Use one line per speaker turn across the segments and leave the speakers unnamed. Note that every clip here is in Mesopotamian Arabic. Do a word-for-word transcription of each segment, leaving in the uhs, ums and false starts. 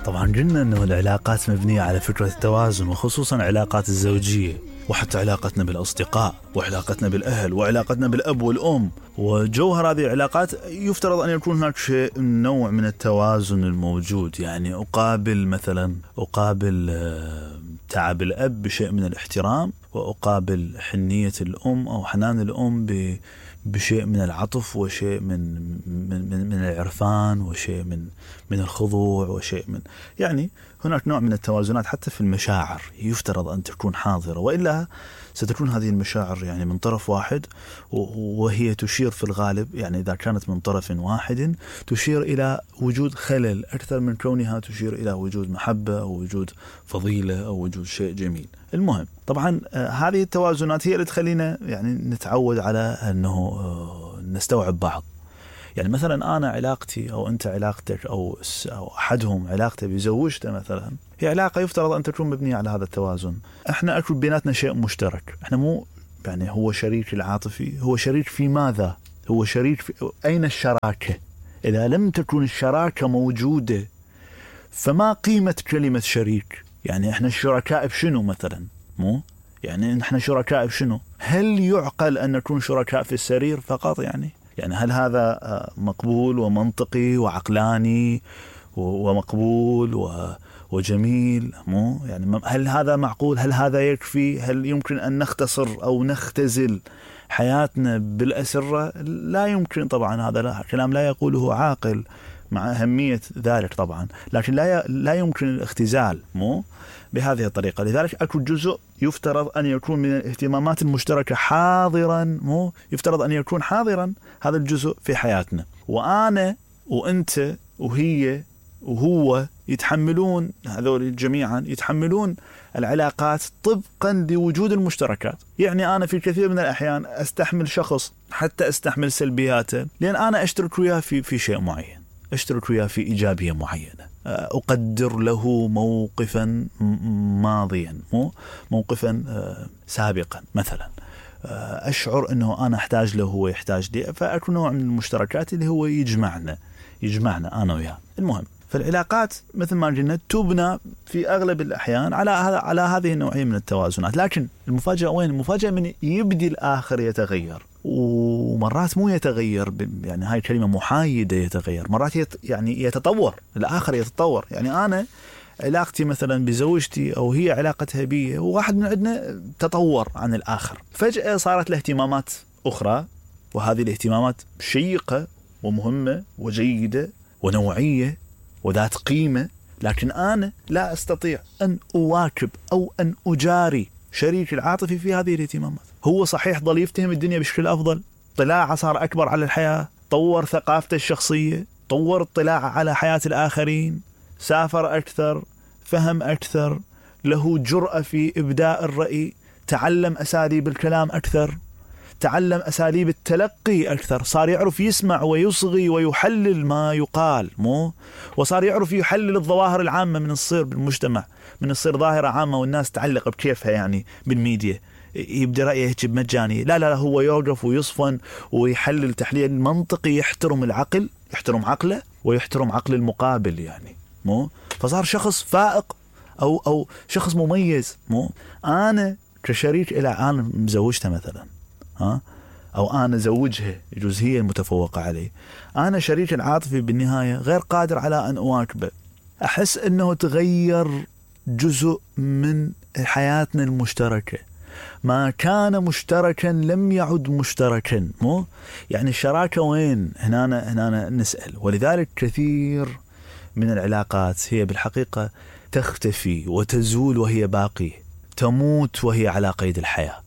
طبعا قلنا أنه العلاقات مبنية على فكرة التوازن، وخصوصا علاقات الزوجية، وحتى علاقتنا بالأصدقاء، وعلاقتنا بالأهل، وعلاقتنا بالأب والأم. وجوهر هذه العلاقات يفترض أن يكون هناك شيء نوع من التوازن الموجود. يعني أقابل مثلا أقابل تعب الأب بشيء من الاحترام، وأقابل حنية الأم أو حنان الأم بشيء من العطف، وشيء من من من, من العرفان، وشيء من من الخضوع، وشيء من يعني هناك نوع من التوازنات حتى في المشاعر يفترض أن تكون حاضرة، وإلا ستكون هذه المشاعر يعني من طرف واحد، وهي تشير في الغالب يعني إذا كانت من طرف واحد تشير إلى وجود خلل أكثر من كونها تشير إلى وجود محبة أو وجود فضيلة أو وجود شيء جميل. المهم طبعا هذه التوازنات هي اللي تخلينا يعني نتعود على أنه نستوعب بعض. يعني مثلا أنا علاقتي أو أنت علاقتك أو أو أحدهم علاقته بزوجته مثلا، هي علاقة يفترض أن تكون مبنية على هذا التوازن. إحنا أكون بيناتنا شيء مشترك، إحنا مو يعني هو شريك العاطفي، هو شريك في ماذا؟ هو شريك في أين الشراكة؟ إذا لم تكن الشراكة موجودة فما قيمة كلمة شريك؟ يعني إحنا الشركاء بشنو مثلا؟ مو يعني إحنا شركاء بشنو؟ هل يعقل أن نكون شركاء في السرير فقط؟ يعني يعني هل هذا مقبول ومنطقي وعقلاني ومقبول وجميل؟ مو يعني هل هذا معقول؟ هل هذا يكفي؟ هل يمكن أن نختصر أو نختزل حياتنا بالأسرة؟ لا يمكن طبعا، هذا لا كلام لا يقوله عاقل مع أهمية ذلك طبعا، لكن لا لا يمكن الاختزال مو بهذه الطريقة. لذلك أكو جزء يفترض أن يكون من الاهتمامات المشتركة حاضرا، مو يفترض أن يكون حاضرا هذا الجزء في حياتنا، وأنا وأنت وهي وهو يتحملون، هذول جميعا يتحملون العلاقات طبقا لوجود المشتركات. يعني أنا في كثير من الأحيان أستحمل شخص حتى أستحمل سلبياته لأن أنا أشترك وياه في في شيء معين، أشترك وياه في إيجابية معينة، أقدر له موقفا ماضيا، مو موقفا سابقا مثلا، أشعر أنه أنا أحتاج له هو يحتاج لي، فأكون نوع من المشتركات اللي هو يجمعنا يجمعنا أنا وياه. المهم فالعلاقات مثل ما قلنا تبنى في أغلب الأحيان على على هذه النوعية من التوازنات، لكن المفاجأة وين؟ المفاجأة من يبدي الآخر يتغير، ومرات مو يتغير يعني هاي الكلمة محايدة، يتغير مرات يت يعني يتطور، الآخر يتطور. يعني أنا علاقتي مثلا بزوجتي أو هي علاقتها بي، وواحد من عندنا تطور عن الآخر، فجأة صارت له اهتمامات أخرى، وهذه الاهتمامات شيقة ومهمة وجيدة ونوعية وذات قيمة، لكن أنا لا أستطيع أن أواكب أو أن أجاري شريك العاطفي في هذه الاهتمامات. هو صحيح ظل يفتهم الدنيا بشكل أفضل، طلاعه صار أكبر على الحياة، طور ثقافته الشخصية، طور اطلاعه على حياة الآخرين، سافر أكثر، فهم أكثر، له جرأة في إبداء الرأي، تعلم أساليب الكلام أكثر، تعلم أساليب التلقي أكثر، صار يعرف يسمع ويصغي ويحلل ما يقال، مو وصار يعرف يحلل الظواهر العامة من الصير بالمجتمع، من الصير ظاهرة عامة والناس تعلق بكيفها يعني بالميديا، يبدأ رأيه هيك بمجاني، لا لا هو يوقف ويصفن ويحلل تحليل منطقي، يحترم العقل، يحترم عقله ويحترم عقل المقابل يعني، مو فصار شخص فائق أو أو شخص مميز. مو أنا كشريك إلى أنا مزوجته مثلا، ها أو أنا زوجها، يجوز هي المتفوقة عليه، أنا شريك العاطفي بالنهاية غير قادر على أن أواكبه، أحس أنه تغير جزء من حياتنا المشتركة، ما كان مشتركا لم يعد مشتركا، مو يعني الشراكة وين؟ هنا هنا نسأل. ولذلك كثير من العلاقات هي بالحقيقة تختفي وتزول وهي باقية، تموت وهي على قيد الحياة.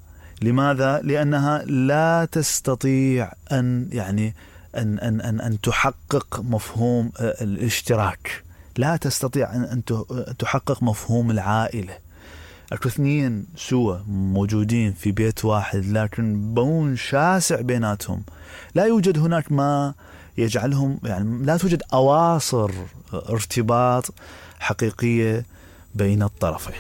لماذا؟ لأنها لا تستطيع أن يعني أن أن أن أن تحقق مفهوم الاشتراك، لا تستطيع أن تحقق مفهوم العائلة. أكو اثنين سوا موجودين في بيت واحد لكن بون شاسع بيناتهم، لا يوجد هناك ما يجعلهم يعني لا توجد أواصر ارتباط حقيقية بين الطرفين.